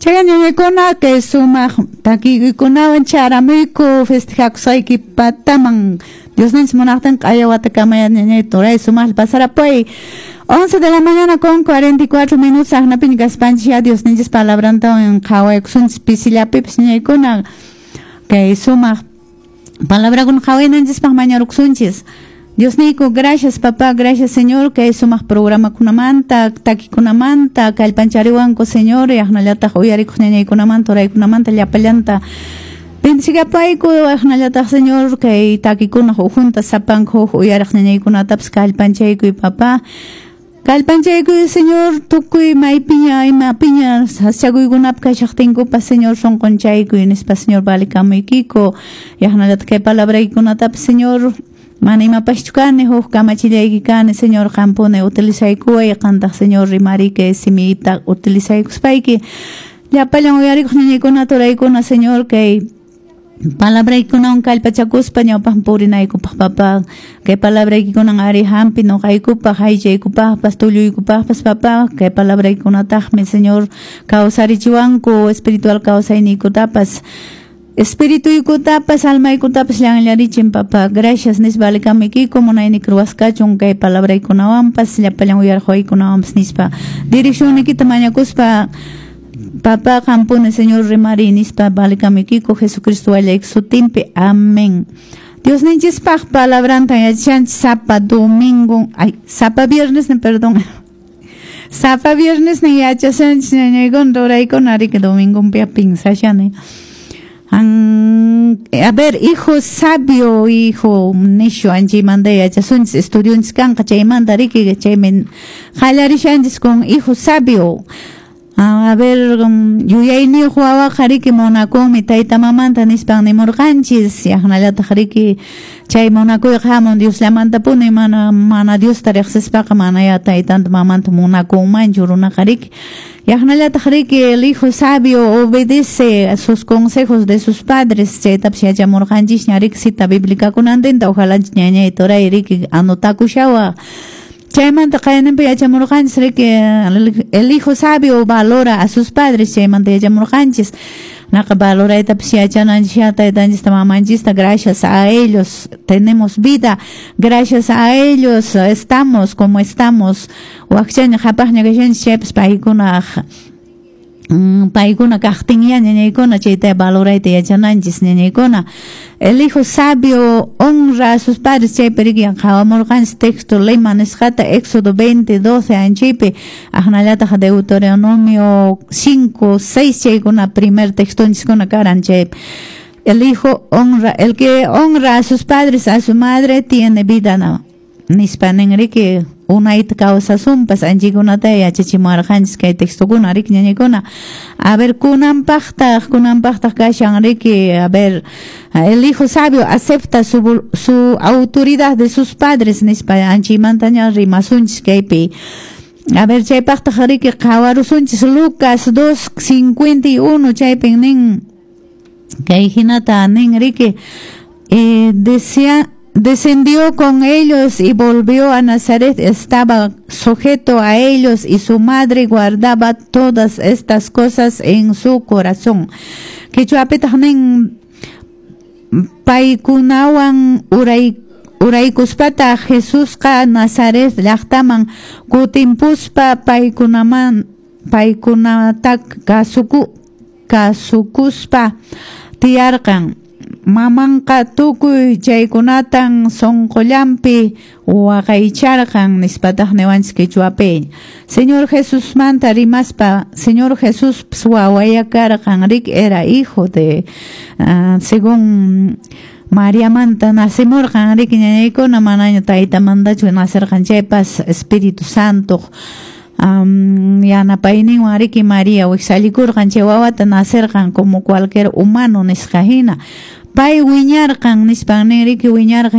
Chay ñañakuna kay sumaq takiykunawan charamuyku festejakusqayki pataman. Diosninchis munaqtin q'aya watakamaya, ñañay, turay, sumaq pasarapuy. 11 de la mañana con 44 minutos. Aqnapiña kaspanchis ya Diosninchis palabrantawan qhawaykusunchis pisillapipis, ñañaykuna. Kay sumaq palabrakuna qhawaynanchispaq mañarukusunchis. Diosniyku, gracias, papá, gracias, Señor, kay sumaq programakunamanta, takikunamanta, kallpanchariwanku, Señor, yaqnallataq uyarikuq ñañaykunamanta, uraykunamanta llapallanta. Bendicigapayku, yaqnallataq, Señor, kay takikunaq ukhunta sapanku huk uyariq ñañaykunatapas kallpanchaykuy, papá. Kallpanchaykuy, Señor, tukuy maypiña imapiña sasachakuykunapi kashaqtinkupas, Señor, sunqunchaykuy nispa, Señor, valikamuykiku. Yaqnallataq kay palabraykunatapas, Señor, mana imapaschu kani, huk kamachillayki kani, Señor, qampuni utilizaykuway, qantaq, Señor, rimariy kay simiyta utilizaykuspayki. Llapallan uyarikuq ñañaykunata, uraykuna, Señor, kay palabraykunawan kallpachakuspa ñawpaqman purinaykupaq, papá. Kay palabraykikunan ari hampi nuqaykupaq, aychaykupaqpas, tulluykupaqpas, papá. Kay palabraykunataqmi, Señor, kawsarichiwanku espiritual kawsayniykutapas, espirituykunatapas, almaykutapas llanllarichin, papá. Gracias nispa valikamuykiku. Munayniki ruwasqachun kay palabraykunawanpas, llapallan uyariqwaykunawanpas nispa direccionnikita mañakuspa, papá, qampuni, Señor, rimariy nispa valikamuykiku Jesucristo wallayki sutinpi. Amén. Diosninchispaq palabrantan yachashanchis sapa domingo, ay, sapa viernes, perdón. Sapa viernes ni yachashanchis, ñañaykuna, ruraykuna, riki domingonpi pensashani. A ver, hijo sabio, hijo necio anchaymanta yachasunchis, estudionchis kanqa chaymanta, riki, chaymi qallarishanchis con hijo sabio. A ver, yuyayniyuq wawaqa riki munakunmi tayta mamanta nispan nimurqanchis. Yaqnallataq riki chay munakuyqa hamun Diosllamantapuni, mana Diosta riqsispaqa mana ya taytanta mamanta munakunmanchu runaqa riki. Yaqnallataq riki el hijo sabio obedece a sus consejos de sus padres, chaytapas yachamurqanchisña riki cita bíblica kunantinta, ojalá ñañay, turay, riki anotakushawa. Chaymanta qayninpi yachamurqanchis riki el hijo sabio valora a sus padres, chaymanta yachamurqanchis. Naqa valoraytapas yachananchis taytanchista mamanchista. Gracias a ellos tenemos vida, gracias a ellos estamos como estamos. Wakchaña qhapaqña kashanchis chaypas paykuna kaqtinya, ñañaykuna, chayta valorayta yachananchis, ñañaykuna. El hijo sabio honra a sus padres, chaypi riki qhawamurqanchis texto lema nisqata Éxodo 20, 12 anchaypi, aqnallataq Deuteronomio 5, 6, chaykuna primer textonchiskuna karan chaypi. El hijo honra, el que honra a sus padres, a su madre, tiene vida, no? Nispa nin riki, unayta kawsasunpas, anchaykunata yachachimuwarqanchis kay textokuna riki, ñañaykuna. A ver, kunanpaqtaq kashan riki, a ver, el hijo sabio acepta su autoridad de sus padres nispa anchaymantaña rimasunchis kaypi. A ver, chaypaqtaq riki qhawarusunchis Lucas 2:51, chaypin nin kay hinata nin riki, decía: descendió con ellos y volvió a Nazaret, estaba sujeto a ellos y su madre guardaba todas estas cosas en su corazón. Quechuapitaq nin: paykunawan uray uraykuspataq Jesusqa Nazaret llaqtaman kutimpuspa paykunaman paykunata kasukuspa tiyarqan. Mamanqa tukuy chaykunatan sunqullanpi waqaycharqan nispataq niwanchis quechuapi. Señor Jesusmanta rimaspa, Señor Jesús wawaya karqan riki, era hijo de según Mariamanta nacimurqan riki, ñañaykuna, manaña taytamantachu nacerqan chaypas Espíritu Santo yanapayninwan riki María wiksallikurqan chay wawata, nacerqan como cualquier humano nisqa hina. Pay wiñarqan nispan nin riki, wiñarqan.